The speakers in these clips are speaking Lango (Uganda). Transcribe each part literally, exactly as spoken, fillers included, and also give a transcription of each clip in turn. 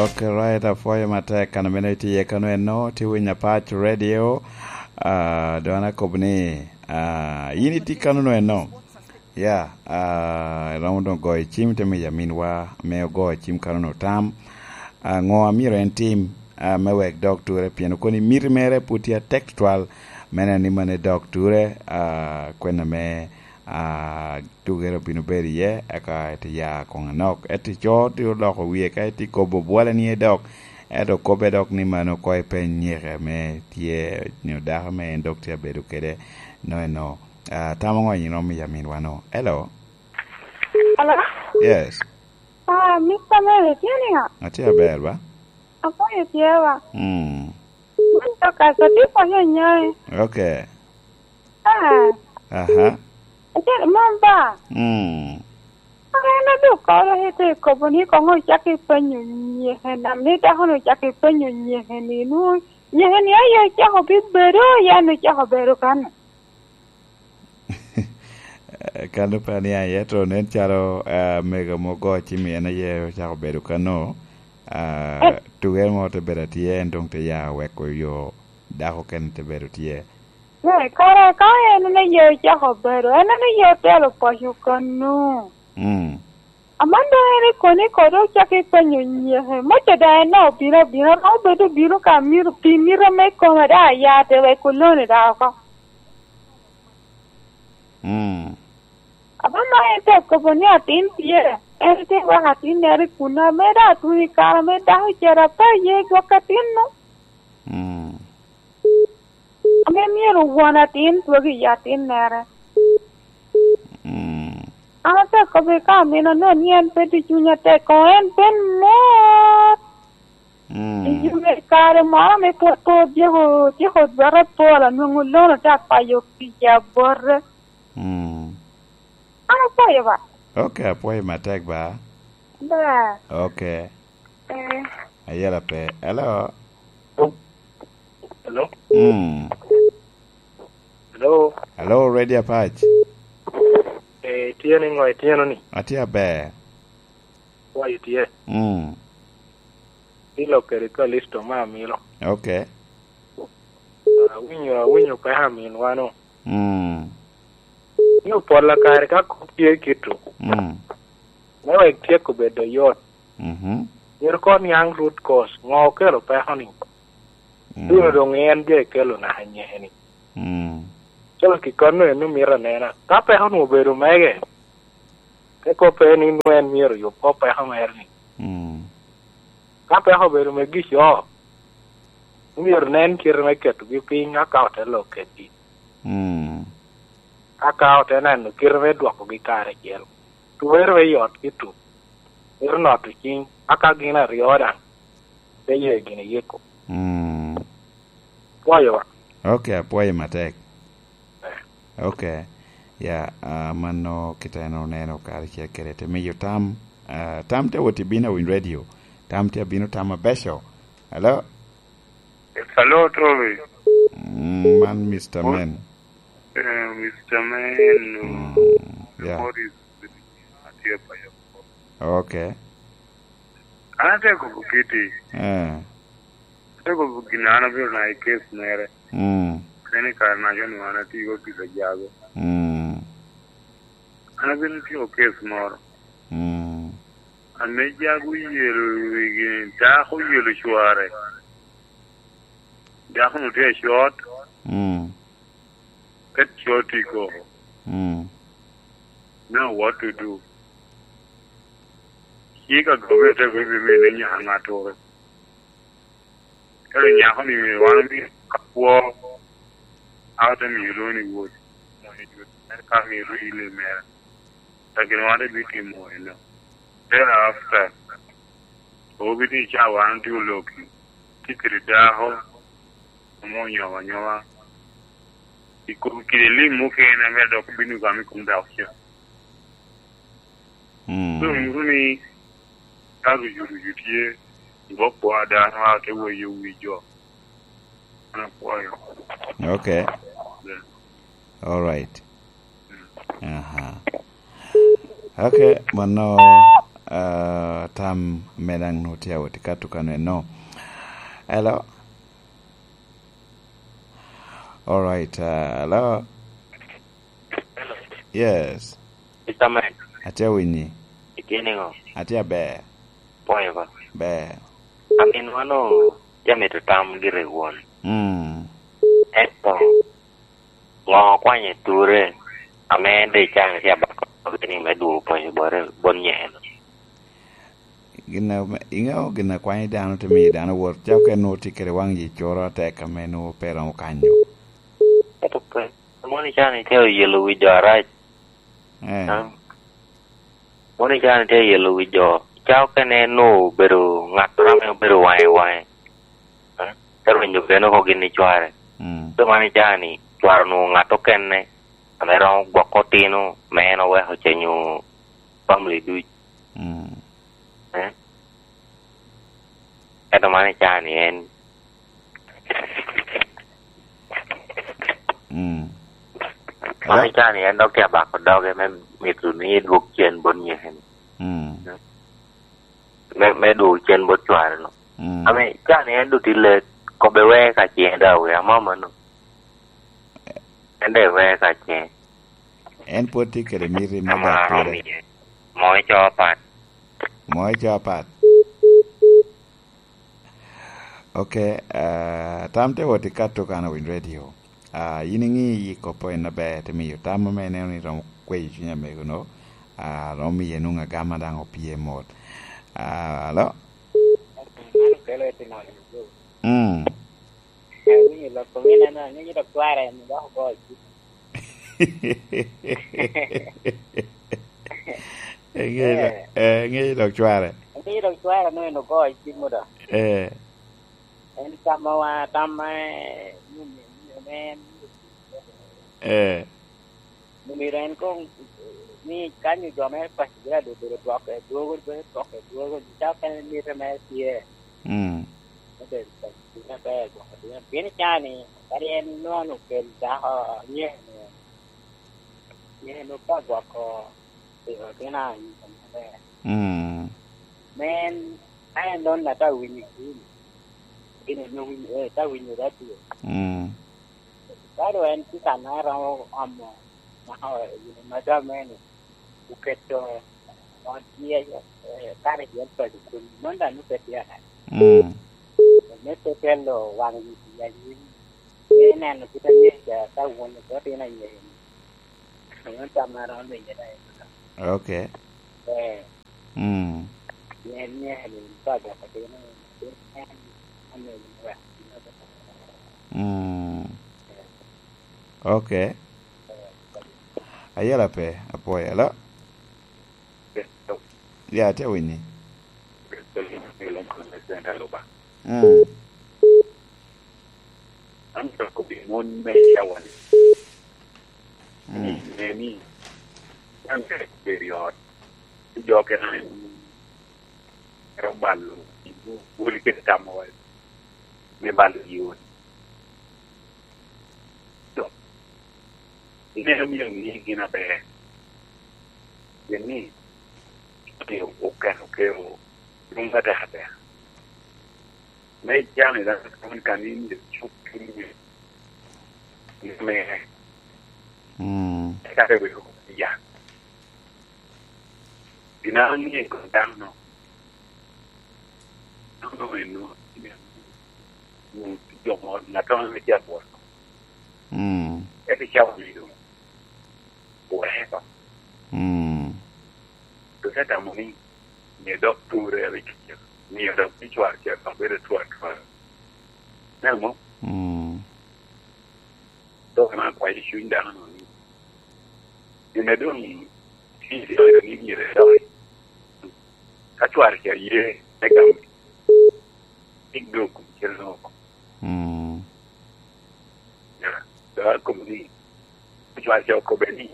Ok, right, apwoyo matek. Kan mene itye iye kano eno, tye winyo Apac Radio. Ah, dong an akobo ni, ah, yin itye kano no eno. Ya, ah, iromo dong goyo cim, te miyo aminwa me ogo cim kano no tam. Ah, ŋo amyero en tim, ah, me wek dok ture, pien okoni miti mere pwod tye atek tutwal, me neno ni mano dok ture, ah, kwena me, ah, tugere obino bedo iye, eka ete ya koŋ anok. Ento ico tye oloko wie, ka itye kobo bwole ni dok, ento kobbe dok ni mano ko ipeny nyeke me tye, nyo dako me en dok tye abedo kede, no eno. Ah, tamo ŋo iromo miyo aminwa no? Hello? Hello? Yes. Ah, Mister Mary, tye niya? Atye aber ba? Apwoyo tye ba? Mm. Man to ka sa tye konyo nyae. Okay. Ah. Aha. Acel man ba? Mm. An adok koro ite kobo ni koŋo ocak ipenyo nyeke nam ni dako ni ocak ipenyo nyeke ni nu nyeke ni aye ocako bibedo, yan ocako bedo kan. Kan pe ni aye to nen calo, ah, mego mogo cimi en aye ocako bedo kano. Ah, tuge mo te bedo atye, en dong te ya weko yo dako kene te bedo tye. Eh, kara ka en ne ye ocako bedo, en ne ye otelo paco kano. Mm. Aman dong en ikoni kodi ocako ipenyo nyeke. Moco da en dong obino abina, romo bedo obino ka mito, pi mito me kome da aya te wek olone da oko. Mm. Aman ma en te kobo ni atin tye, en te weko atin nere i kuno, ame da atun i kare ame dako ocero ape aye gwok atin-nu. Mm. Ame myero won atin dwog i atin mere. Mm. An ate kobbe ka amino no ni en pe tye cuny atek, kono en pe mot. Mm. I yume kare moro ame pwod pe otyeko, otyeko dwete pol, anwoŋo lono te akwayo kica bote. Mm. An apwoyo ba. Ok, apwoyo matek ba. Ba. Ok. Eh. Ayela pe. Hello. Hello? Mm. Hello? Hello, Radio Apac. Eh, tye ni ŋo itino ni? Atye aber. Wa itye? Mm. Ilo kede Kalisto ma amilo. Ok. Awinyo, awinyo peko aminwa no. Mm. Ni opolla kare ka kop tye kito. Mm. Me wek tyeko bedo yot. Mhm. Myero koŋ niaŋ root cause, ŋo okelo peko ni? Mm. Bino doŋ en jo ekelo naka nyeke ni. Mm. Calo kikon-nu en omito anena. Ka peko-nu obedo mege, te koppe ni nwoŋo en myero oyub kop peko mere ni. Mm. Ka peko obedo megi co, omyero nen kite me ketogi piny, aka ote lok kedgi. Mm. Aka ote neno kite me dwokogi karacel. Twere me yot ki tuk. Mito noto cing, aka gin aryo daŋ te ye gin iyiko. Mm. Pwoyo wa. Ok, apwoyo matek. Eh. Ok. Ya, ah, mano kite en oneno karacel kede te miyo tam. Ah, tam te wot i bino i radio. Tam te abino tam abeco. Hello? Hello, Toby. Mm, man Mister What? Men. Eh, Mister Men, Mm, yeah. What is atye pa yo? Ok. An atye kobo kiti. Eh. Atye kobo gin an abiro na i case mere. Mm. Kene kare na jo ni wan atye i office a jago. Mm. An abino timo case moro. Mm. Ame jago oyelo wigi, dako oyelo cware. Dako-nu tye acot. Mm. Ket cot i koko. Mm. Now what to do? Cik a gabete ko ibi mine nyaka ŋattoro. Ero nyako ni wan omi ka kwo, a ote miyo lwoni wot, moni dwe, en ka miyo lwoni ile mere. Lakin wan te bi timo eno. Thereafter, obi ni ca wan tye oloki, tye kede dako, ame onyomo anyowa. I kom kede lim mukene ame dok bino gamo i kom dako ca. Mm. So, nyuto ni ka rucu rucu tye, i bok kwa dano a te weyo wi jo. An apwoyo. Ok. Yeah. All right. Mm. Aha. Ok, mano Ah, tam me daŋ nwoŋo tye awot i kato kano eno. Hello? All right, ah, hello? Yes. Mister Man, atye awinyi. Itye niŋo? Atye aber. Pwoyo ba. Ber. Amin wano jamito tam gire won. Mm. Ento ŋo okwanye ture ame en de can tye abako ni me dwogo pwony bot, bot nyeno? Gin ame, iŋeo gin a kwanyo dano te miyo dano wot, cako ka nwoŋo tye kede waŋ yi coro atek ame nwoŋo pe romo kanyo. Ento pe, moni can itye oyelo wi jo arac. Eh. Ah. Moni can itye oyelo wi jo. Cako kene nwoŋo obedo ŋattoro ame obedo waŋe waŋe. Ah. Te rwenyo kene oko gin i cware. Mm. So mani can ni cware onwoŋo ŋat okene ame romo gwoko otino, me en oweko cenyo family duc. Mm. Eh? Ento man icaa ni en. Mm. Man icaa ni en dok tye abako doge me mito ni dwog cen bot nyeke-ni. Mm. Me, me dwogo cen bot cware-nu. Mm. Ame icaa ni en dok tye let, kobbe wee ka cen dawe, amamano. En daŋ iweko ka ce. En pwod tye kede miti me dok pire. Moo ico apat. Moo ico apat. Ok, ah, tam te wot i Kato kan owiny radio. Ah, yin iŋi yi kop en aber, te miyo tam ame ineno ni romo kweyo cuny amego-nu, ah, romo miye nwoŋo agama daŋ opye mot. Ah, alo? Mm. Awinyo lok kom ineno, aŋeyo dok cware en dok ogo cim. Eŋeyo dok, eh, eŋeyo dok cware. Aŋeyo dok cware no en ogo cim do. Eh. En tamma wa, tamma, eh, ni, ni, ni, ni, eh. Omyero en koŋ ni kany jo me paco bino adobedo dwoke dwogo, dwogo dwoke dwogo, calo kene mite mere tye. Mm. Me bedo paco bino aber, gwoko bino. Pien i caa ni, kadi en nwoŋo okel dako nyeko-nu, nyeko-nu ka gwoko piko otino anyuka maber. Mm. Me en, ka en doŋ ata winyo gini, gini onwoŋo winyo, eh, ta winyo radio. Mm. Ka doŋ en tye kan a romo omo, maka, eh, gin madam eni, oketo ot tye, eh, kare tye paco kun, mano daŋ oketo tye ata. Mm. Me tetelo waŋ wi pi anyim, me neno kit anyec a ka won oto tino anyec-ni. Mano tam a romo winyo daŋ. Ok. Eh. Mm. Pien myero ni pa gwoko tino, pien en ame wek. Mm. Ok. Ayela pe, apwoyo, alo? Ya, atye winyi. Mm. An dok obedo mon me cawa-ni. Mm. Ni, ne ni, an tek obedo i ot, jo kena en ero balo, boli kede tamo me balo i ot. To, ineno myero ni gin aber. Pien ni, okeno kero, dum atek atek. Me jami dano kan in myero cuk cunyi ni mere. Mm. Eka te weko ya. Gin a ŋe i kom dano-nu, dano-nu eno, jo mo, ŋat mo ame tye abwot. Mm. Eka icawa ni doŋ, weko. Mm. Dok te tamo ni, mio dok ture rik, mio dok ni cwar ca dok bedo twatwa. Neno mo? Mm. Dok ame akwayo cuny dano ni, gin a doŋ tye i oyo ni myero edok. Ka cwar ca ye me gamo, tik doŋ kun cen oko. Mm. Ya, dok akobo ni, cwar ca okobbe ni,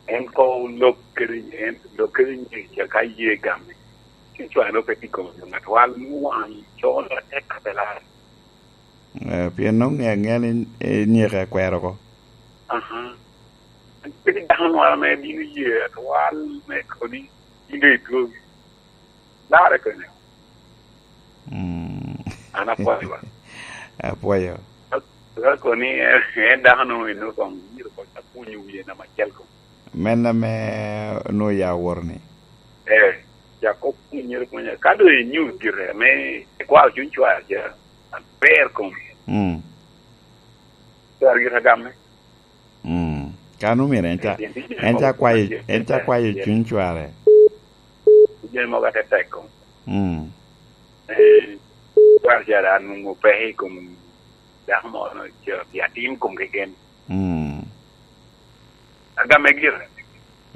en ko lok kede, en lok kede nyec ca ka ye gamme. Ci cwar no pe tye i kom jo ŋat wal nwoŋo waŋ col atek ka pe lar. Eh, pien nwoŋo ŋe aŋea ni, eh, nyeke akwero oko. Aha. Pe tye dano moro ame bino ye atwal me koni, in doŋ idwogi. Larre kene. Mm. An apwoyo ba. Apwoyo. Ka kono ni en, en dako no eno kong myero kong akunyo wie nama acel kong. Men ame onwoŋo ya woro ni. Eh, cak kok kunyere kunya. Ka doŋ inyut gire ame ikwao cuny cwar ca, aber kom. Mm. Cwar gire agamme. Mm. Kan omyero en ca, en ca kwayo, en ca kwayo cuny cware. Jami mogo atetek kom. Mm. Eh, cwar ca da nwoŋo peke i kom dako moro, ca pi atin kom keken. Mm. Agamme gire.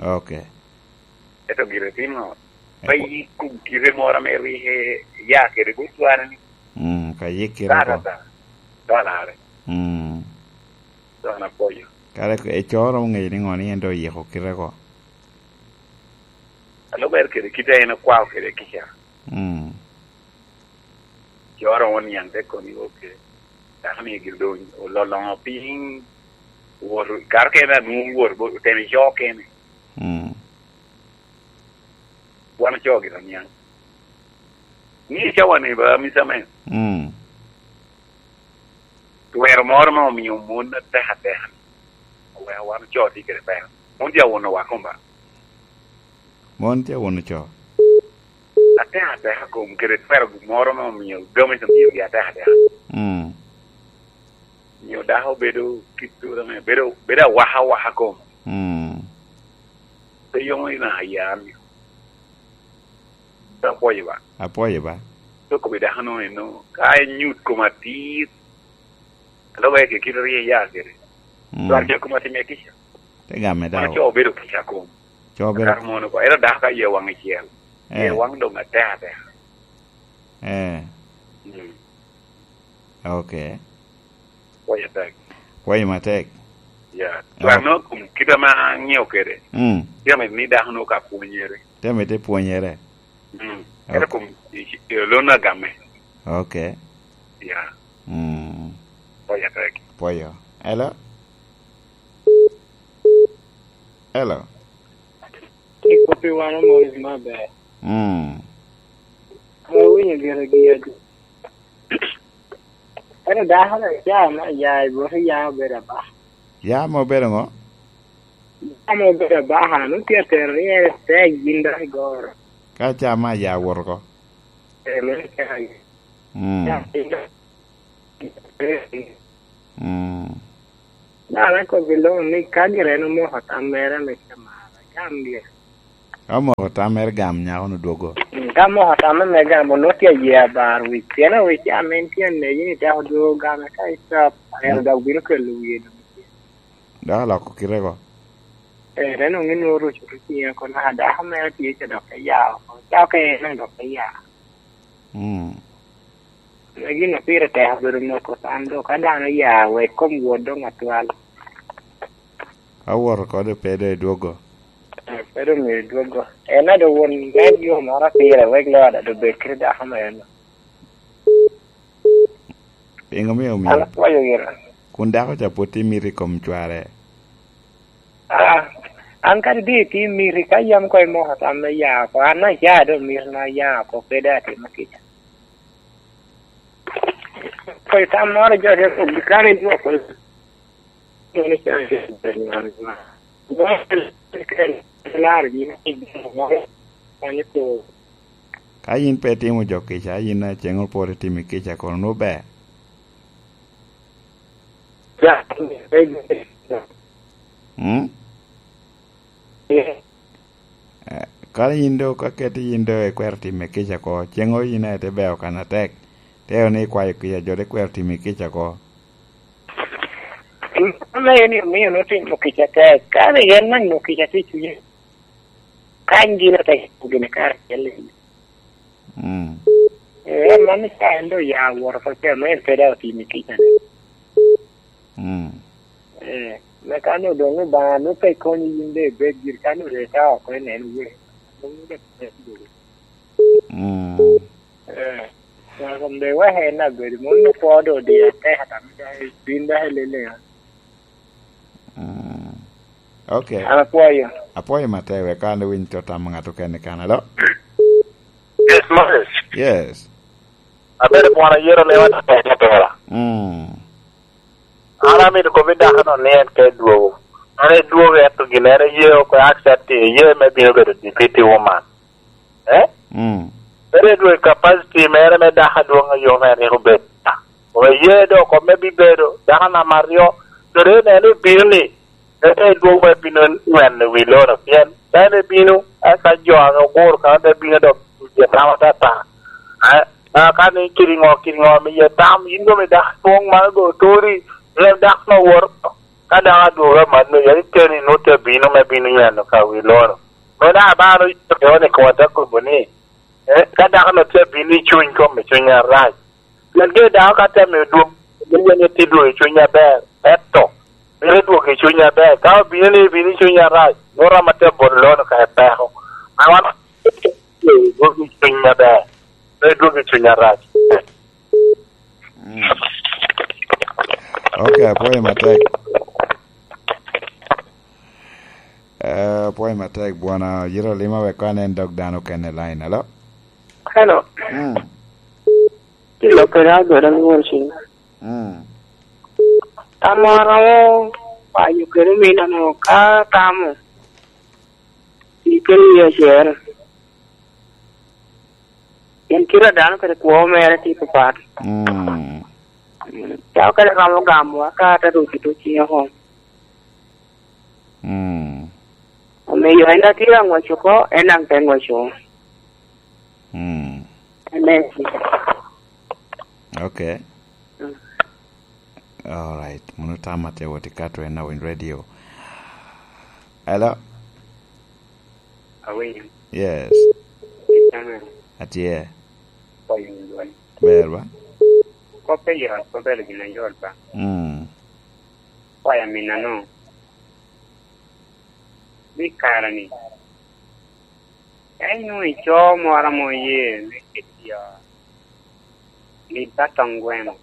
Ok. Ento gire tin ŋo? Pe yik kom kite moro ame rik ya kede bot cware ni. Mm, ka yik kite ko. Ka, ka, ka. Ka larre. Mm. Dok na pwoyo. Kare ecoro ŋeyo ni ŋo ni en doŋ oyiko kite ko. Alo ber kede kite en okwao kede kica. Mm. Coro oniaŋ te koni, "Ok, dako ni gire doŋ ololoŋo piny, wot, kara kene anwoŋo wot, bo-, otemo ico kene." Mm. Wan ocoo gire oniaŋ. Ni icawa ni ba, Mister Man. Mm. Twero moro ma omio mon atek ateka ni, oweko wan ocoo tye kede peko. Mon tye awuno wa kom ba. Mon tye awuno co. Atek ateka kom kede twero moro ma omio gamo ite miogi atek ateka. Mm. Mio dako bedo kit tura me, bedo, bedo awaka awaka kom. Mm. Pe yomo ina ya mio. Apwoyo ba. Apwoyo ba. Toko bi dako no eno, ka en nyut kom atir, alo weke kit rie ya kede. Mm. Twar jo kom atim ya kica. Te game dawo. Mano co obedo kica kom. Co obedo. Kar mono ko. Ero dako ka ye waŋ icel. Eh. Ye waŋ doŋ atek atek. Eh. Mm. Ok. Pwoyo atek. Pwoyo matek. Ya. Ok. Twar no kom kit ame aŋeo kede. Mm. Tye ame ni dako no ka pwonyere. Tye ame te pwonyere. Mm. Ok. Ero kom i, i, i lon agamme. Ok. Ya. Mm. Pwoyo atek. Pwoyo. Hello? Hello? Kik koppi wan omoc maber. Mm. Awinyo gire gi adi. Ento dako na ca me aya i bot ya obedo aba. Ya ma obedo ŋo? Ya ma obedo aba, an otye atero ni en tek gin dok igoro. Ka ca me aya owoto oko? Eh, meno tek aye. Mm. Ya, tek. Mm. Dano akobo i loŋo ni ka gire en omoko tam mere ame camara, gam gire. Ka omoko tam mere gam nyako-nu dwogo. Mm, ka omoko tam mere gam, onwoŋo tye aye abar wic. Pien awic ca ame en tye anegi ni tek odwogo game ka i cop, ero dok bino kelo wie doŋ. Dok aloko kite ko. Eh, te nwoŋo ni nwoŋo oruco ki ciŋe kono, a, dako mere tye ca dok te ya oko. Ca ka en dok te ya. Mm. Ame gin a pire tek obedo moko san do, ka dano oya wek kom wot doŋ atwal. Ka wot oko doŋ pe doŋ edwogo. Eh, pe doŋ myero edwogo. En a doŋ won me yo moro pire, wek lo ada doŋ bed kede dako mere no. Pingo omio omyero? An apwoyo gire. Kun dako ca pwod tye miti i kom cware? Ah, an kadi doŋ itye miti, ka yam koŋ imoko tam me ya oko, an aca doŋ mitna ya oko, pe doŋ atimo kica. Koŋ tam moro jo te kobo, kare idwoko. Ka yin pe itimo jo kica, yin a ceŋ opwod itimo kica kono nwoŋo ber? Mm? Eh, kara yin do, ka keti yin do ikwero time kica ko, ceŋo yin aye te beo kan atek, te ni ikwayo kica, jo te kwero timi kica ko. Ame en omio notimo kica tek. Kare en nang nwoŋo kica tye i cunye. Kany gin ote gin karacel i. Mm. Eh, man ka en doŋ ya woro oko ca, ma en pe daŋ otimo kica ni. Mm. Eh, me kan odoŋ Obaŋa nwoŋo pe konyi yin doŋ ibed giri, kan oreta oko inen wee. Mm. Eh, Obaŋa kom doŋ iweke en abedo, mon nwoŋo kwo doŋ odiyo atek ata, me dok ibin dok ilele. Mm. Ok. An apwoyo. Apwoyo matek, wek an awiny tot tam ŋat okene kan. Alo? Yes, Moses. Yes. Abedo bwona yero lewa na peke tora. Mm. An amito kobbi dako no ni en ka edwogo. An edwogo ento gin en eye oko accept eye me bino bedo deputy woman. Eh? Mm. Bedo edwogo i capacity mere me dako adwoŋ a yom en rik obed. Kome ye dok kome bibedo dako namba aryo. Kede en ebino ni, ete edwogo me bino nyweno wi lono. Pien ka en ebino, eka jo ame oguro kano te bino dok tye tam atata. Eh, ah, ka ni kiri ŋo, kiri ŋo, mi ye tam, yin dong idako adwoŋ man dong oturi, rem dako no wot. Ka dako adwogo amanno, yari keni nut te bino me bino nyweno ka wi lono. Meno abalo yero ni koma te kobo ni, eh, ka dako no tye abino i cuny kom, i cuny arac. Pien ge dako ka temo dwog, mio ni tye dwog i cuny aber, eto, mito dwog i cuny aber. Ka obino ni bino i cuny arac, nwoto ama tye bot lono ka epeko. Awan dwog i cuny aber, pe dwog i cuny arac. Mm. Ok, apwoyo matek. Eh, apwoyo matek, bwana, yito lima wek kwan en dog dano kene line. Alo? Hello. Mm. Kilo kede agoda ni won cing. Mm. Tamo aromo wanyo kede omino no ka tamo. Ikelo yie acel. Pien kite a dano kede kwo mere tye papat. Mm. Mm, ca okene romo gamo aka ata rwod kit ocinge oko. Mm. Omiyo en a tye aŋwaco oko, en daŋ te ŋwaco. Mm. Amen. Ok. Mm. All right. Mano tam atye wot i kato en awiny radio. Hello? Awinyo. Yes. Amen. Atye. Kwayo ni dwon. Ber ba? Kop pe yot, kop pe gin ayot ba. Mm. Kwayo amin ano? Ni kara ni. Ka inwoŋo ico moro ame oye me kit yo, lib ka toŋ gweno.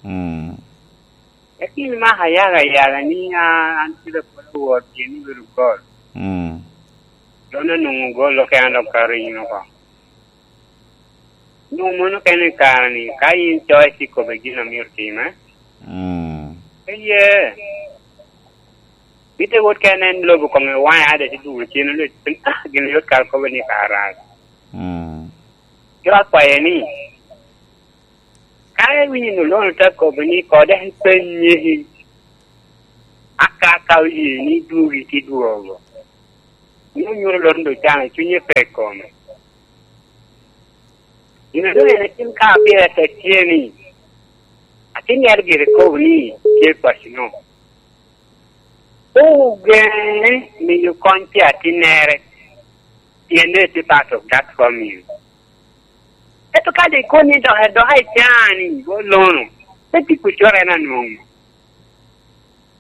Mm. Eka imako ayaga ayaga ni, "An, an kede apwod awor pien obedo gol." Mm. Dong onwoŋo gol okene dok kato in oko. Nwoŋo mano okene i kare-ni, ka in coc ikobbe gin a myero time. Mm. Eye. Mitte wot kene en lobo kome waŋe ade te dugo cen, onwoŋo, ah, gin yot kara kobo ni kara rac. Mm. Cwak kwaye ni, ka iwinyo ni Olono te kobo ni kode en pe nyeki, aka ka oye ni dwogi te dwogo, ni onyuto Olono doŋ can, cunye pe i kome. Gin a doŋ en atin ka pire tek tye ni, atin yero gire kobo ni tye pacino. Ogeŋe miyo kony pi atinnere, pien doŋ etye part of that family. Ento ka doŋ ikoni dok, dok icani, Olono, pe tye kucoro en anwoŋo.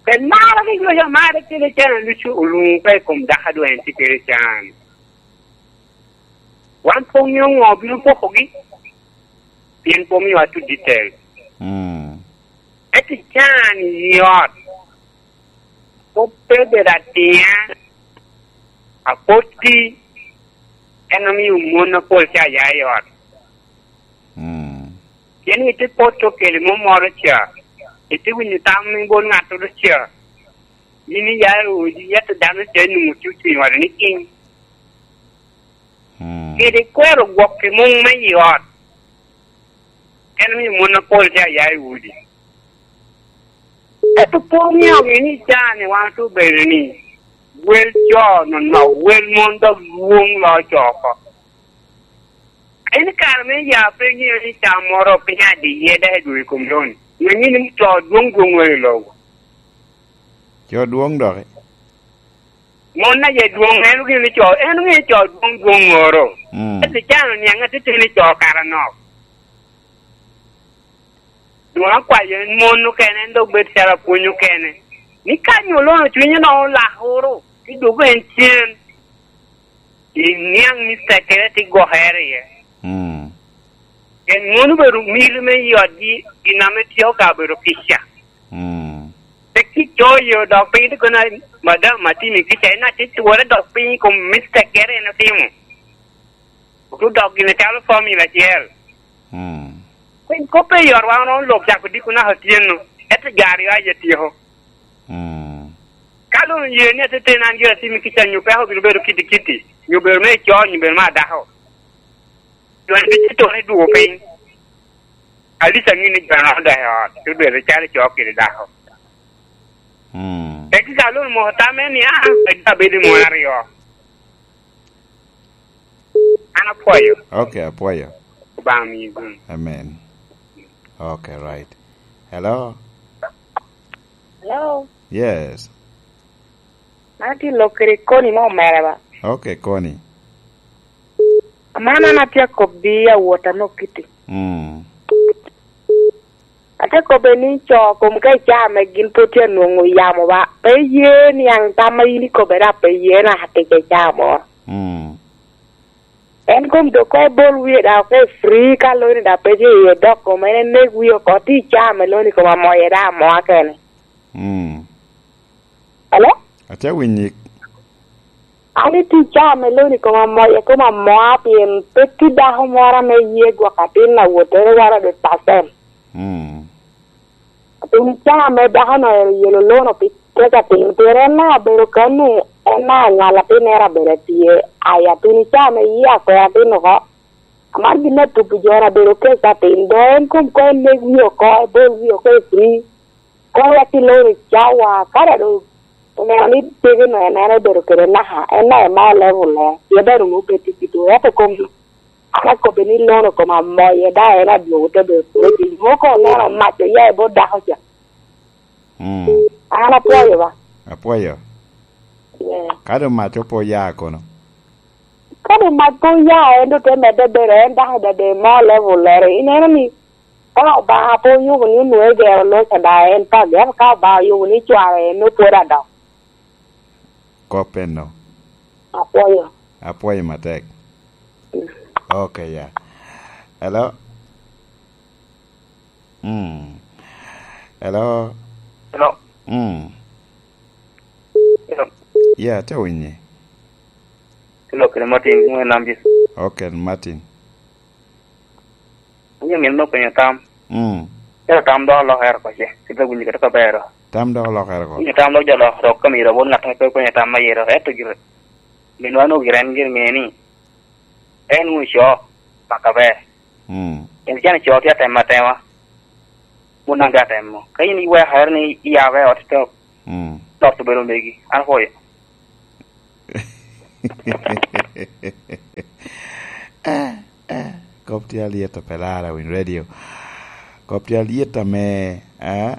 Pien maro rik loc amaro kede can a lucu oluŋo ka i kom dako a doŋ en tye kede can. Wan pe oŋeo ŋo obino pokogi, pien pe omiowa to detail. Mm. Ento can i ot, kop pe bedo atina, apoti, en omio mon apol ca ya i ot. Mm. Pien ite poto kede mom moro ca, ite winyo tam i bot ŋattoro ca, yin iya i odi, yat dano ca inwoŋo tye ocung i ode ni king. Mm. Kede kwero gwok i muŋ me i ot, en omio mon apol ca ya i odi. Ento pe oŋeo gini ca ni wan obedo ni wel co nonok, wel mon dok lwoŋ lo co oko. En i kare me ya pe iŋeo ni ca moro piny adiye dok edwogo i kom loni. Ngeŋi ni co dwoŋ dwoŋ wele i lobo. Co dwoŋ doki. Mon aye dwoŋ, en oŋeo ni co, en oŋeo ni co dwoŋ dwoŋ oro. Mm. Ento can oniaŋ atitidi ni co kara nok. Dwoŋ akwayo en mon okene, en dok bed calo apwony okene. Ni ka nyo Olono cwinye no olakoro, ti dwogo en cen. Iniaŋ ni tekere ti gokere iye. Mm. Pien mon obedo miti me i otgi, gin ame tye ka bedo kica. Mm. Pe Ci coyo dok piny te kono, madam, atimo kica, en aci twore dok piny i kom mistake gere en otimo. Otu dok gine calo formula acel. Mm. Piny kop pe yorwa, wan lok cako diko naka otyeno, ento jo aryo aye tyeko. Mm. Ka doŋ ye ni atete an gira atimo kica, nyo peko bino bedo kiti kiti, nyo bedo me co, nyo bedo me adako. Doŋ en bicito ni dwogo piny. Alica ŋin ni jo an odok i ot, te bedo calo co kede dako. Mm. Tek ka lon moko tamme ni, "Ah, abedo i mon aryo." An apwoyo. Okay, apwoyo. Obaŋa miyi gum. Amen. Okay, right. Hello? Hello? Yes. An atye lok kede koni mo mere ba. Okay, koni. Aman an atye akobbi awot anok kiti. Mm. Ate kobbe ni co kom ka icaa me gin pwod tye anwoŋo yamo ba. Pe ye niaŋ tam ma in ikobbe dok pe ye naka tic icaa moro. Mm. En kom dok ka ibol wie dok ka i free ka loni dok pe tye iye dok kom en enek wie oko ti icaa me loni kom amoye dok amoa kene. Mm. Hello? Atye winyi. An i tic caa me loni koma moye koma moa pien pe tye dako moro ame ye gwok atin awottere one hundred percent. Mm. Pien caa me dako-nu oyelo lono pi kec atin, pien en na abedo kanu, en na aŋal atin ero abedo atye aya, pien caa me ye akwero atin oko. Amar gin me tubi jo na bedo kec atin, do en kom ko en nek wie oko, ebol wie oko i free. Kono wek iloro i cawa, ka dok oneno ni tege-nu en, en obedo kede naka, en na ema level-le, pien dok onwoŋo pe tye kite, ento kom, an akobbe ni lono koma moye, dok en adwogo te bedo kede piny. Mogo oneno mac oya i bot dako ca. Mm. An apwoyo ba. Apwoyo. Yeah. Ka doŋ mac pe oya kono? Ka doŋ mac pe oya, en doŋ te medde bedo, en dako dade mo level lere. Ineno ni, ka Obaŋa pe oyubo ni onwoŋo egero loca daŋ en pagi, ento ka Obaŋa oyubo ni cware en nwoŋo pwod adok. Kop enno. Apwoyo. Apwoyo matek. Mm. Okay, ya. Hello? Mm. Hello? Hello? Mm. Hello? Ya, atye winyi. Hello, kede Martin, ŋo en nam Jesu? Okay, Martin. Onyo min me penyo tam. Mm. Ento tam dok olokere oko ce, kit a winyo kede kobero. Tam dok olokere oko. Winyo tam dok jo lok dok ka myero abol ŋat ame pe openyo tam ma yero, ento gire. Minwa onwoŋo gire en gire ŋe ni, en wun co, paka ber. Mm. En can co tye atemo atema. Mon daŋ tye atemo. Ka in iwekere ni iyabere ot i tok, mm, lot obedo megi. An apwoyo. Eh, eh, kop tye alyet a pe lara winy radio. Kop tye alyet ame, eh,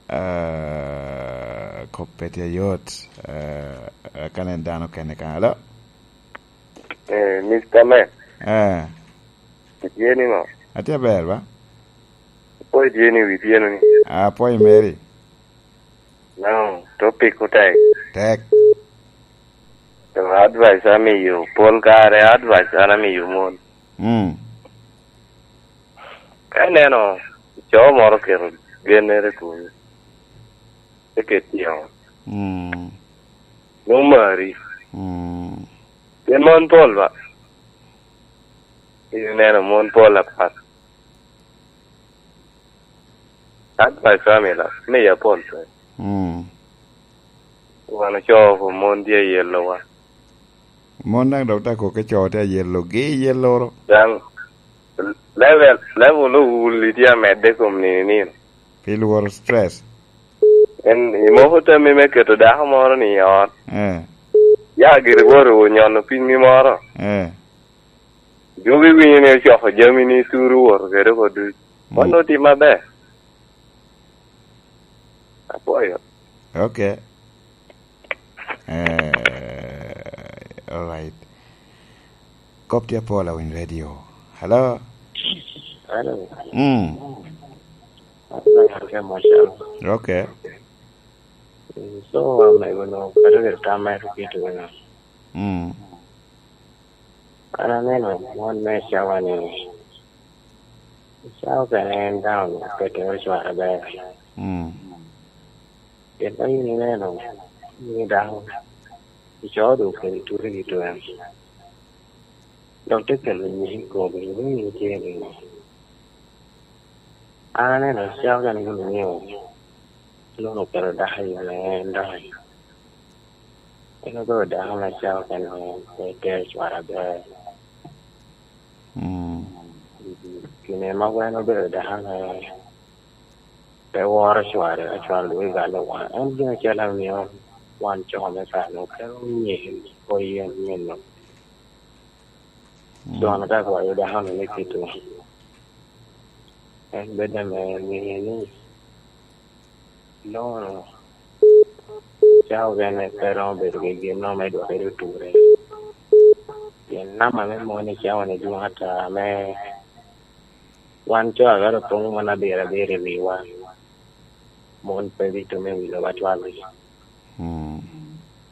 eh, kop pe tye ayot, eh, eh, ka nen dano kene ka. Alo? Eh, Mister Man. Eh. Itye ni ŋo? Atye aber ba? Apwoyo tye ni wi tyeno ni. Apwoyo meri. No, topic otek. Tek. To advice amiyo, pol kare advice an amiyo mon. Mm. Ka ineno co moro oketo gennere kunu, te ket tye ŋo? Mm. Nwoŋo mari. Mm. Pien mon pol ba. Ineno mon pol apat. Advice amila, miya pol pe. Mm. Wan ocoo pu mon tye ayelowa. Mon daŋ dok te koke coo tye ayelogi, ayeloro. Daŋ, level, level owuli tye amedde kom nino nino. Pi lworo stress. En, imoko tammi me keto dako moro ni i ot. Eh. Ya giri bot onyono pinyi moro. Eh. Dwogo iwinyo ni ocoko jami ni turu woto kede oko duc. Mm. Mano otim maber. Apwoyo. Okay. Eh, all right. Kop tye apol awiny radio. Hello? Hello. Mm. Hello, okay, Marshal. Okay. Mm, so, um, I don't know, I don't get time, I don't get to know. Mm. An aneno mon me cawa ni, cawa kene en daŋ okette me cware ber. Mm. Pien ka in ineno ni dako icoo doŋ kede turi i twen, dok te kelo nyig i komi, iwinyo ni tye niŋo? An aneno cawa kene gin omio Lon okelo dako i me en dok en obedo dako me cawa kene, pe tero cware aber. Mm. Gine mogo en obedo dako ame pe woro cware, ka cware dong egalo wan. En gin acel amio wan co me kare-nu kelo nyeko yen nino. Mm. Con ka kwayo dako-nu me kite, en bedo ame ŋeyo ni Lon-nu ca ogene pe romo bedo gi gin-nu me dwokere oture. Pien namba me mon i cawa-ni dwoŋ ata, ame wan co a galo pong mon abiro abiro i wiwa, mon pe bitumo i wi lobo atwal. Mm.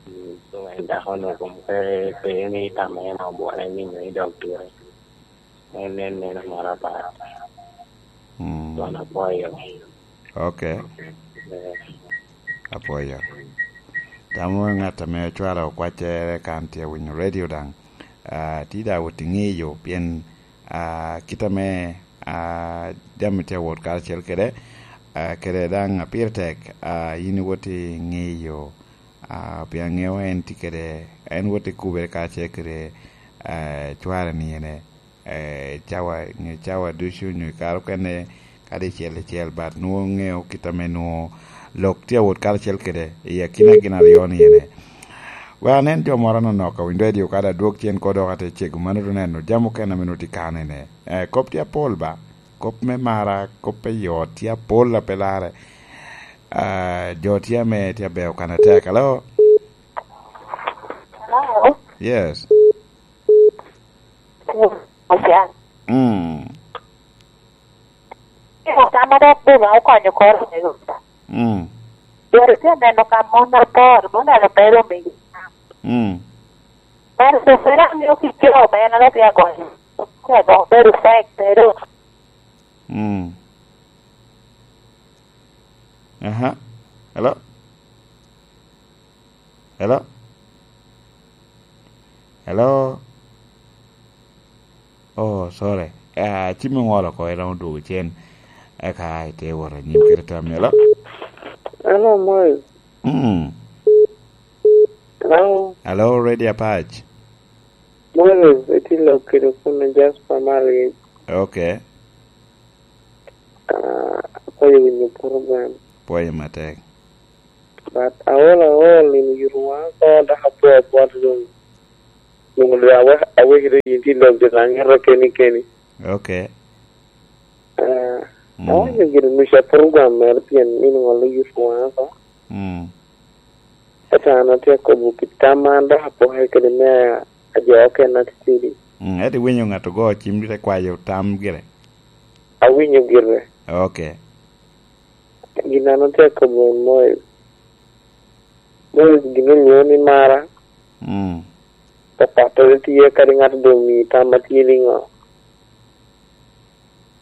Mm, so en dako-nu kun pe, pe ni tamo en obwone ni nyo idok ture. En, en neno moro apat. Mm. Wan apwoyo. Ok. Eh. Apwoyo. Tamo ŋat ame ocwalo kwaccere kan tye winyo radio daŋ. Ah, ti da wot i ŋeyo pien, ah, kit ame, ah, jami tye wot karacel kede, ah, kede daŋ a pire tek, ah, yin iwot i ŋeyo, ah, pien ŋeo en tye kede, en wot i kubere karacel kede, ah, cware ni ene. Eh, cawa, nyo cawa ducu, nyo i kare okene, kadi icel icel, but nwoŋo ŋeo kit ame nwoŋo lok tye awot karacel kede i akina gin aryo ni ene. Wek anen jo moro anonok a winyo radio kadi adwog cen ko dok ate cego mano, to neno jami okene ame nwoŋo tye kano ene. Eh, kop tye apol ba, kop me mara, kop me yot tye apol a pe larre. Ah, jo tye ame tye abeo kan atek. Hello? Hello? Yes. Ocan. Mm. Tamo dok boma okonyo koro me ruta. Mm. Yore tye neno ka mon apor, mon alo bedo me. Mm. Mano to pera miyo ki jo bene dok ya gonyo. Ya gonyo bedo fek, bedo. Mm. Aha. Hello? Hello? Hello? Oh, sorry. Ah, cimmi oŋolo oko, iromo dwogo cen. Eka ite wot anyim kede tammi. Hello? Hello, Moy. Mm. Hello? Hello, Radio Apac. Moy, iti lok kede kun Jasper Mali. Ok. Ah, apwoyo winyo program. Pwoyo matek. But aol aol in oyuto waŋa oko, dok apwoo apwot doŋ. Doŋ doŋ awe-, awekere yin tye lok doŋ aŋito keni keni. Ok. Ah, mm, awaco gire nuca program mere pien in ŋolo oyuto waŋa oko. Mm. Ento an atye akobo kit tam an dok apoke kede me ajo okene atitidi. Mm, ento iwinyo ŋat ogo cim te kwayo tam gire? Awinyo gire. Ok. Gin an atye akobo en Moic. Moic gin olwoŋo ni mara. Mm. Papattere tye kadi ŋat doŋ omii tam atye niŋo.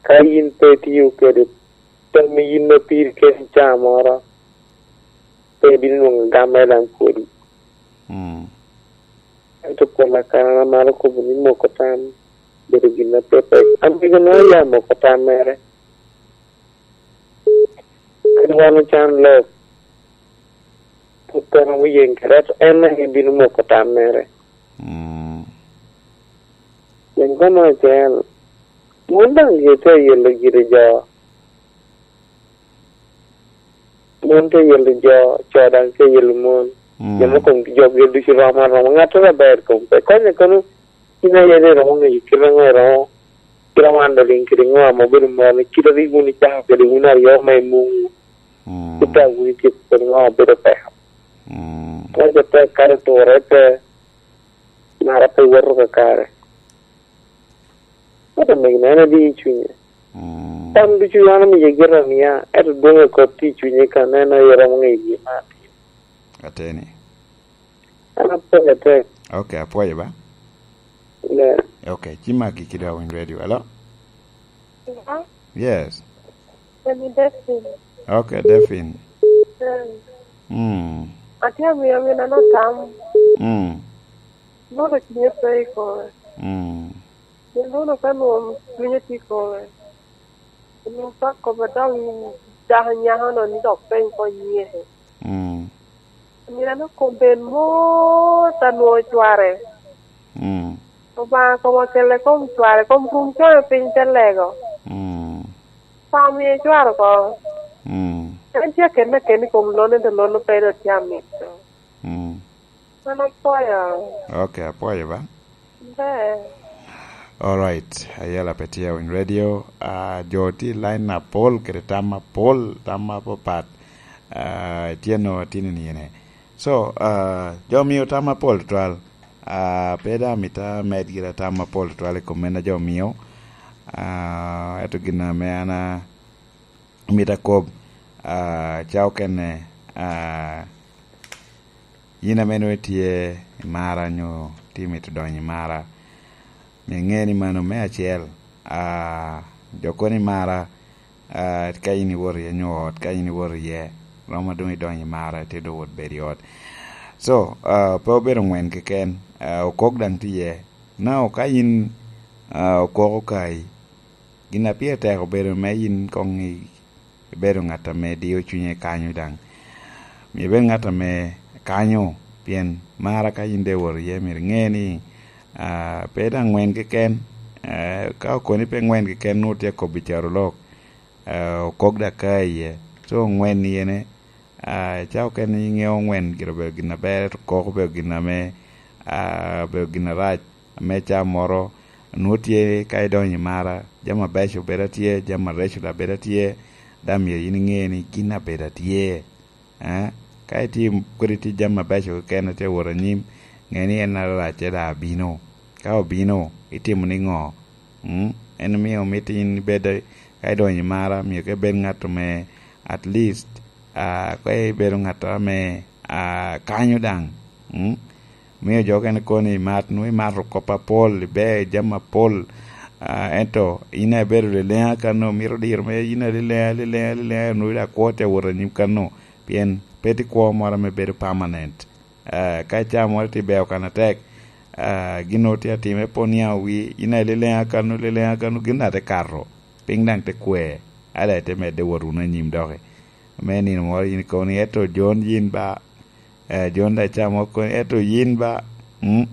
Ka yin pe itio kede tammi yin ma piri keni ca moro, pe ibino nwoŋo gam me daŋ pwodi. Mm. Ento pol akana amaro kobo ni moko tam bedo gin apepek. Amego nwoŋo ya moko tam mere. Kadi wan ocan lok, pwod pe romo yen kede, ento en daŋ ebino moko tam mere. Mm. Pien kome acel, mon daŋ gitye ayelo gire jo. Mon tye ayelo jo, co daŋ tye ayelo mon. Mm. Jo me kom jokgi ducu rom aroma. Ŋattoro aber kom pe. Konye kono, in aye ni iromo ŋeyo kite ŋo iromo, kite wan doliŋ kede ŋo ame obedo moro, ni kite rik wun icako kede wun aryo me muŋwu. Mm. Kite a wun itye kede ŋo obedo peko. Mm. Konye tek kare ture pe, mara pe woto kakare. Ento omego en adi i cunye. Mm. Tam ducu an omiye gire amiya, ento dwoŋ i kop tye i cunye ka neno aye romo ŋeyo gin ma atimo. Ateni. An apwoyo atek. Ok, apwoyo ba. Yeah. Ok, ci magi ki dok winy radio. Hello? Hello? Yes. Emi Daphne. Ok, Daphne. Mm. Mm. Atye amiyo amin ano tam. Mm. Nono cunye pe i kome. Mm. Pien nono ka nwoŋo cunye tye i kome, onwoŋo pe akobo dok dako nyako-no ni dok peny kony nyeke. Mm. Amin ano kom ben mot anwoŋo cware. Mm. Obaŋa kom okelle kom cware, kom rum cone piny te lego. Mm. Pam ye cwaro oko. Mm. En tye akene akene i kom lonne, to lonne pe dok tye amito. Mm. An apwoyo. Ok, apwoyo ba. Ber. All right, ayela pe tye awiny radio. Ah, jo tye i line apol kede tam apol, tam apapat. Ah, tye no tini ni ene. So, ah, jo mio tam apol twal. Ah, pe da mita med gira tam apol twal i kom en a jo mio. Ah, eto gin ame an a- Mito akob, ah, ca okene, ah, yin ame nwoŋo itye i mara nyo tye mito donyo i mara, myero iŋe ni mano me acel, ah, jo kono i mara, ah, ka in iwoto iye nyo ot, ka in iwoto iye, romo doŋ idonyo i mara, itye doŋ wot bedo i ot. So, ah, pe obedo ŋwen keken, ah, okok daŋ tye iye. Now, ka yin, ah, okok okayi, gin a pire tek obedo me yin koŋ i- ibedo ŋat ame dio cunye kanyo daŋ. Myero ibed ŋat ame kanyo, pien mara ka yin doŋ iwoto iye, myero iŋe ni, ah, pe daŋ ŋwen keken, eh, ka okoni pe ŋwen keken, nwoŋo tye akobo i carolok, eh, okok daŋ ka iye. So, ŋwen ni ene, ah, ca okene iŋeo ŋwen gire obedo gin aber, ento kok obedo gin ame, ah, obedo gin arac. Ame ca moro, nwoŋo tye ka idonyo i mara, jami abeco bedo atye, jami areco daŋ bedo atye, daŋ myero yin iŋe ni gin abedo atye. Eh? Ka itye kodi tye jami abeco keken atye wot anyim, ŋe ni en aracce daŋ abino. Ka obino, itimo niŋo? Mm? En omio mito yin ibed, ka idonyo i mara, myero ka ibed ŋat ame at least, ah, ka ibedo ŋat ame, ah, kanyo daŋ. Mm? Miyo jo okene koni imat, nwoŋo imato kop apol, iber jami apol, ah, ento in a ibedo leleŋa kano, mito diro me yin aleleŋa, aleleŋa, aleleŋa, nwoŋo daŋ kwo tye awot anyim kano, pien pe tye kwo moro ame bedo permanent. Ah, ka icaa moro tye beo kan atek, ah, gin nwoŋo tye atime pwod niaŋ owi, in a ileleŋa kano, leleŋa kano, gin daŋ te kato, piny daŋ te kwer, a daŋ ite medde wot wunu anyim doki. Me nino moro yin ikobo ni, "Eto Jon yin ba, eh, Jon daŋ icaa moro koni, eto yin ba, mm,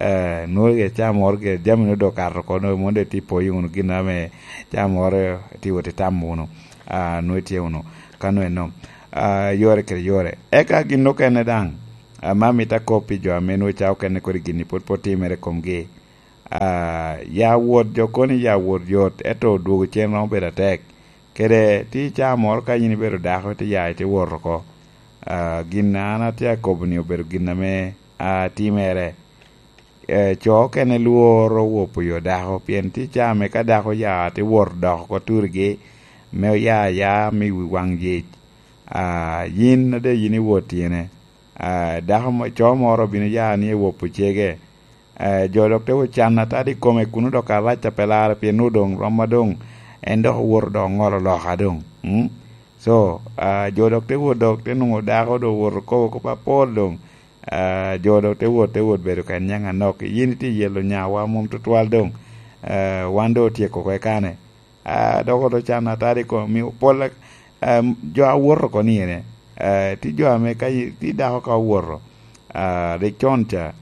eh, nwoŋo icaa moro gire, jami nwoŋo doŋ okato oko, nwoŋo mono doŋ itye ipoyo wunu gin ame icaa moro itye wot itamo wunu, ah, nwoŋo itye wunu kano eno." Ah, yore kede yore. Eka gin okene daŋ, ame amito akop pi jo ame nwoŋo ca okene kodi gin-ni pwod pe otimere i komgi. Ah, ya wot jo koni ya wot yot, ento dwogo cen romo bedo atek. Kede tye ca moro ka yin ibedo dako, ite ya ite wot oko. Ah, gin an atye akobo-ni obedo gin ame, ah, timere. Eh, co okene lworo wopo yo dako, pien tye ca ame ka dako ya te wot dok oko turigi, me oya aya me wi waŋ yec. Ah, yin ade yin iwot tyene. Ah, dako mo-, co moro obino ya ni ewopo cege. Eh, jo dok te wot can atadi i kome kuno dok arac a pe larre, pien nwoŋo doŋ rom ma doŋ en dok owoto dok oŋolo loka doŋ. Mm? So, ah, jo dok te wot dok te nwoŋo dako doŋ owoto kobo kop apol doŋ. Ah, jo dok te wot, te wot bedo ka niaŋ anok. Yin itye yelo nyawa mom tutwal doŋ. Ah, wan doŋ otyeko oko i kane. Ah, dok oto can atadi i kom, mio pol, ah, jo a woto oko ni ene. Ah, tye jo ame ka yi-, tye dako ka owoto, ah, rik con ca,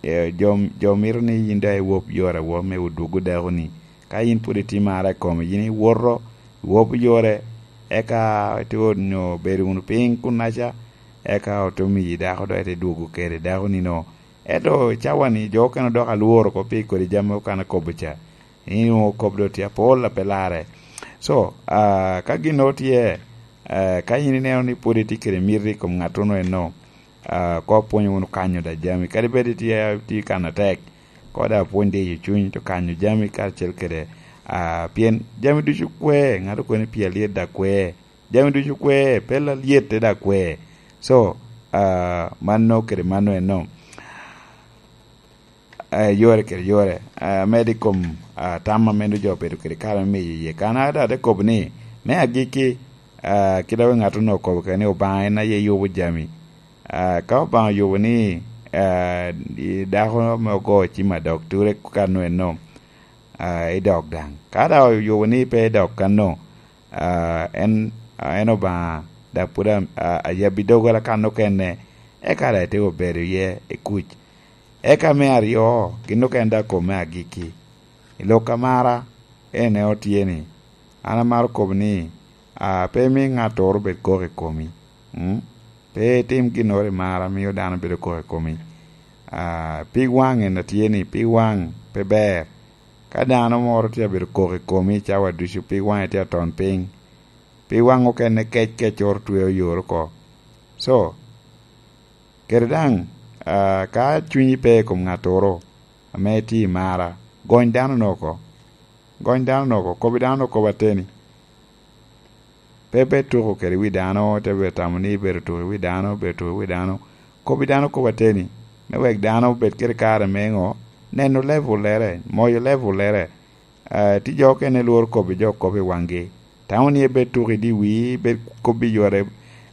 eh, jo, jo mito ni yin daŋ iwop yore awop me odwogo dako-ni. Ka yin pwod itye mara i kome, yin iwoto, iwop yore, eka ite onyo bedo wunu piny kunnaca, eka ote miyi dako dok ite dwogo kede dako-ni no. Ento cawa-ni jo okene dok alworo oko pi kodi jami okan akobo ca. In onwoŋo kop doŋ tye apol a pe larre. So, ah, ka gin nwoŋo tye, ah, ka in ineno ni pwod itye kede miti i kom ŋattono enno, ah, koŋ pwony wunu kanyo da jami. Kadi bed itye, itye kan atek, koŋ da pwony diyo cuny, to kanyo jami karacel kede, ah, pien jami ducu kwe, ŋat okoni pi alyet da kwe. Jami ducu kwe, pe lalyet te da kwe. So, ah, mano kede mano enno. Eh, yore kede yore, eh, medo i kom, ah, tam ame nwoŋo jo obedo kede kare me miyo iye. Kan a daŋ te kobo ni, me agikki, Ah, kit a ŋat onongo okobo kede ni Obaŋa en aye yubo jami. Ah, ka Obaŋa oyubo ni, ah, i dako ame ogo cim adok ture kan eno, ah, i dok daŋ. Ka daŋ oyubo ni pe i dok kanno, ah, en, ah, en Obaŋa, dok pwod a-, a-, ayabbi doggola kan okene, eka daŋ ite obedo iye i kuc. Eka me aryo, gin okene daŋ kome agikki. I lok amara, en en otye ni, an amaro kobo ni, ah, pe imi ŋattoro bed kok i komi. Mm? Pe itim ginnoro i mara mio dano bedo kok i komi. Ah, pig waŋ en atye ni, pig waŋ pe ber. Ka dano moro tye abedo kok i komi cawa ducu, pig waŋe tye aton piny. Pig waŋ okene kec kec oro twe oyor oko. So, kede daŋ, ah, ka cunyi pe i kom ŋattoro ame itye i mara, gony dano-nu oko. Gony dano-nu oko, kobbi dano-nu kop ateni. Pe, pe tuko kede wi dano, te bedo tamo ni ibedo tuko i wi dano, bedo tuko i wi dano. Kobbi dano kop ateni, me wek dano obed kede kare me ŋo? Neno level-lere, moyo level-lere. Ah, tye jo okene lworo kobbi jo kop i waŋgi. Tamo ni ebed tuko i di wii, bed kobbi yore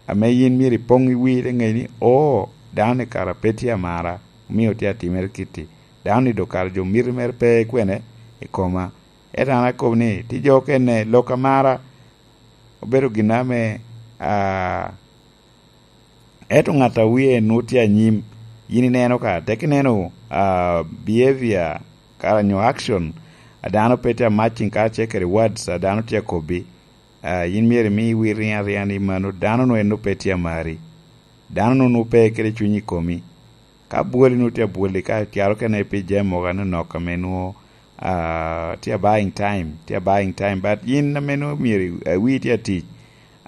ame yin myero ipoŋ i wii, te ŋe ni, "Oo, dano-ni kara pe tye amara, omio tye atimere kitti. Dano-ni dok kara jo miti mere pe i kwene i koma." Ento an akobo ni, tye jo okene lok amara obedo gin ame, ah, ento ŋat a wie nwoŋo tye anyim, yin ineno ka, tek ineno, ah, behavior, kara nyo action, a dano pe tye a matching karacel kede words a dano tye akobbi, ah, yin myero imi wir riŋ ariŋa ni mano dano-nu en nwoŋo pe tye amari. Dano-nu nwoŋo pe kede cuny i komi. Ka bwoli nwoŋo tye abwoli, ka caro kene pi jami mogo anonok ame nwoŋo, ah, tye a buying time, tye a buying time, but yin ame nwoŋo myero i-, awii tye atic,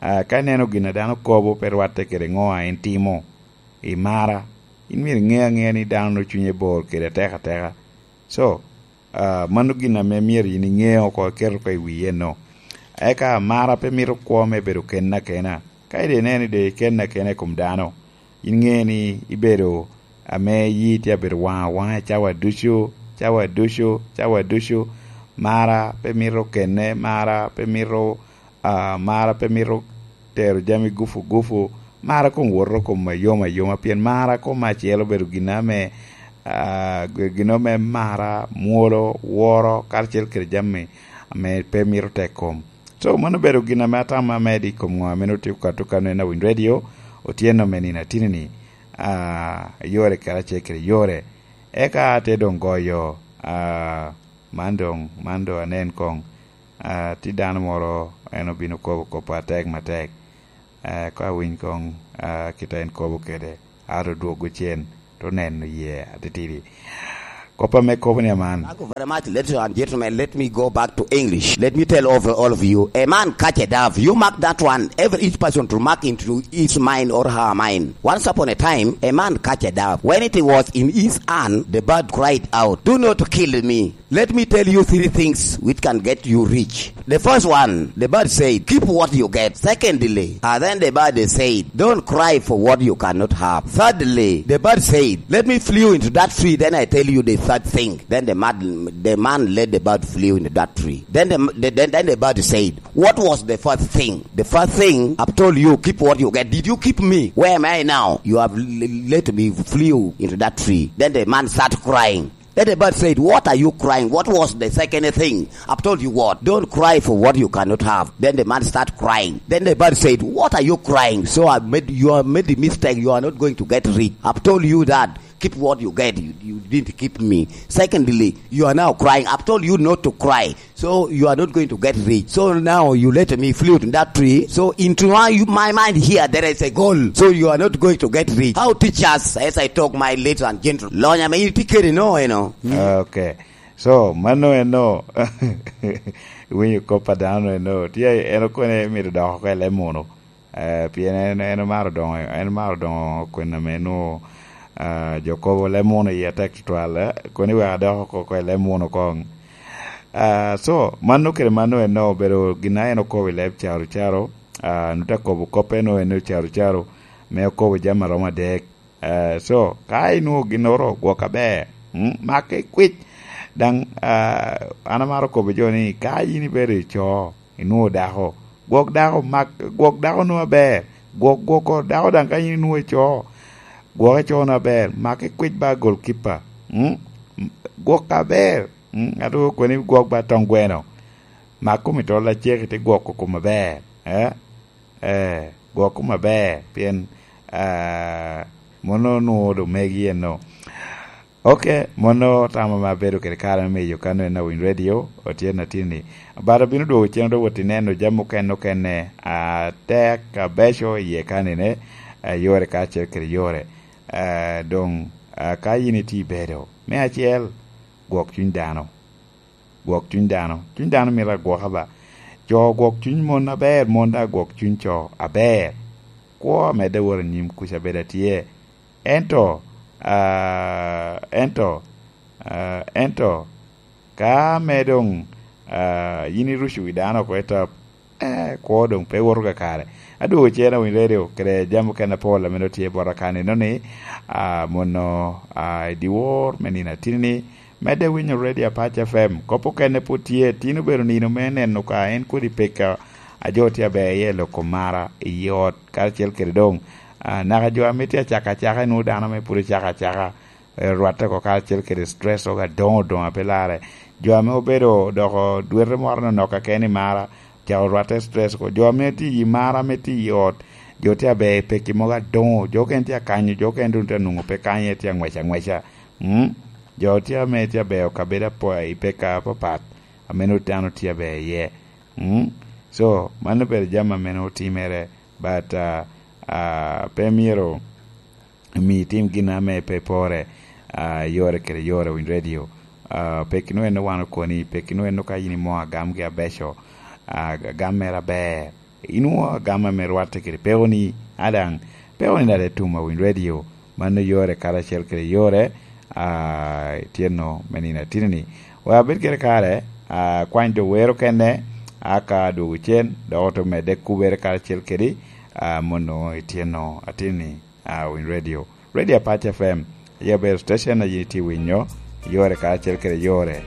ah, ka ineno gin a dano kobo pe rwatte kede ŋo a en timo, i mara, in myero iŋe aŋea ni dano nwoŋo cunye bor kede atek ateka. So, ah, mano gin ame myero yin iŋe oko, iket oko i wii eno. Eka mara pe mito kwo me bedo kenna kena. Ka ide ineno ide kenna kena i kom dano, in ŋe ni ibedo ame yi tye abedo waŋa waŋa cawa ducu, cawa ducu, cawa ducu. Mara pe mito kenne, mara pe mito, ah, mara pe mito tero jami gufu gufu. Mara koŋ woto kom ayom ayoma, pien mara kom acel obedo gin ame, ah, gin ame mara, mwolo, woro, karacel kede jami ame pe mito tek kom. So, mano obedo gin ame atamo amedo i kom ŋo ame nwoŋo tye ka tuko kano en Awiny Radio, otyeno me nino atini-ni, ah, yore karacel kede yore. Eka ate doŋ goyo, ah, man doŋ, man doŋ anen koŋ, ah, tye dano moro en obino kobo kop atek matek. Eh, ka awiny koŋ, ah, kit a en kobo kede, ato dwogo cen, to neno ye atitidi. Kop ame kobo ni aman. Thank you very much, ladies and gentlemen. Let me go back to English. Let me tell over all of you. A man catch a dove. You mark that one. Every each person to mark into his mind or her mind. Once upon a time, a man catch a dove. When it was in his hand, the bird cried out, "Do not kill me." Let me tell you three things which can get you rich. The first one, the bird said, "Keep what you get." Secondly, and then the bird said, "Don't cry for what you cannot have." Thirdly, the bird said, "Let me flew into that tree, then I tell you the third thing." Then the man, the man let the bird flew into that tree. Then the, the, then, then the bird said, "What was the first thing?" The first thing, I've told you, keep what you get. Did you keep me? Where am I now? You have l-, let me flew into that tree. Then the man started crying. Then the bird said, "What are you crying? What was the second thing? I've told you what? Don't cry for what you cannot have." Then the man start crying. Then the bird said, "What are you crying? So I made, you have made the mistake. You are not going to get rich. I've told you that. Keep what you get. You, you didn't keep me. Secondly, you are now crying. I've told you not to cry. So you are not going to get rich. So now you let me flew in that tree. So into my, my mind here, there is a goal. So you are not going to get rich. How teachers, as I talk, my ladies and gentlemen. Lonya me itye kede no, you know. Mm. Okay. So, mano eno, winyo kop a dano eno. Tye, en okone mito dok oko i leb munu. Eh, pien en, en omaro doŋo, en omaro doŋo kwena me nwo, ah, jo kobo leb munu iye tek tutwal, eh, kono iwek adok oko, oko i leb munu koŋ. Ah, so, mano kede mano eno obedo gin a en okobo i leb caro caro, ah, nut akobo kop eno eno caro caro, me okobo jami aromo adek. Eh, so, ka inwoŋo ginnoro, gwok aber, mm, make kwic. Daŋ, ah, an amaro kobo jo ni, ka yin ibedo i co, inwoŋo dako, Gwok dako mak, gwok dako nu aber. Gwok, gwok dako daŋ ka yin inwoŋo ico, gwok ico nu aber. Mak ikwic ba goalkeeper. Mm? Gwok aber. Mm? Ŋat okoni gwok ba tong gweno. Mak kom i tol acek ite gwoko kom aber. Eh? Eh, gwok kom aber. Pien, ah, mono nwoŋo do megi eno. Ok, mono tamo me abedo kede kare me miyo kano en awiny radio, otye na tini. But obino dwogo cen odok wot ineno jami okene okene, ah, tek, abeco iye kanine, ah, yore kacel kede yore. Ah, doŋ, ah, ka yin itye ibedo, me acel, gwok cuny dano. Gwok cuny dano. Cuny dano mito agwoka ba. Co gwok cuny mon aber, mon daŋ gwok cuny co aber. Kwo amedde wot anyim kuca bedo atye. Ento, ah, ento, ah, ento, ka me doŋ, ah, yin iruco wi dano oko i top, eh, kwo doŋ pe woto kakare. Adwogo cen awiny radio kede jami okene apol ame doŋ tye bota kanino ni, ah, mono, ah, i dyewor me nino atini-ni, medde winyo Radio Apac F M. Kop okene pwod tye, tin obedo nino me neno ka en kodi pekka a jo tye aber iye loko mara i ot, karacel kede doŋ, ah, naka jo ame tye acaka acaka, inwoŋo dano ame pwod ocako acaka, eh, rwatte oko karacel kede stress oko adoŋo doŋ a pe larre. Jo ame obedo doko dwete moro nonok keken i mara, cako rwatte stress oko. Jo ame tye i mara, ame tye i ot, jo tye aber i pekki mogo adoŋo, jo okene tye akanyo, jo okene doŋ tye anwoŋo pe kanye, tye angwec angweca. Mm? Jo tye ame tye aber kabedo apo-, i pekka apapat, ame nwoŋo dano tye aber iye. Mm? So, mano obedo jami ame nwoŋo timere, but, ah, ah, pe myero omi itim gin ame pe pore, ah, yore kede yore winy radio. Ah, peki nwoŋo en wan okoni, peki nwoŋo en ka yin imo agamgi abeco, ah, agam mere aber. Inwoŋo agam ame rwatte kede pekoni, adaŋ pekoni daŋ te tum awiny radio. Mano yore karacel kede yore, ah, ityenno me nino atini-ni. Wa abed kede kare, ah, kwany jo wero kene, aka dwogo cen, dok oto medde kubere karacel kedi, ah, mono ityenno atini-ni, ah, winy radio. Radio Apac F M, aye obedo station a yin itye winyo, yore karacel kede yore.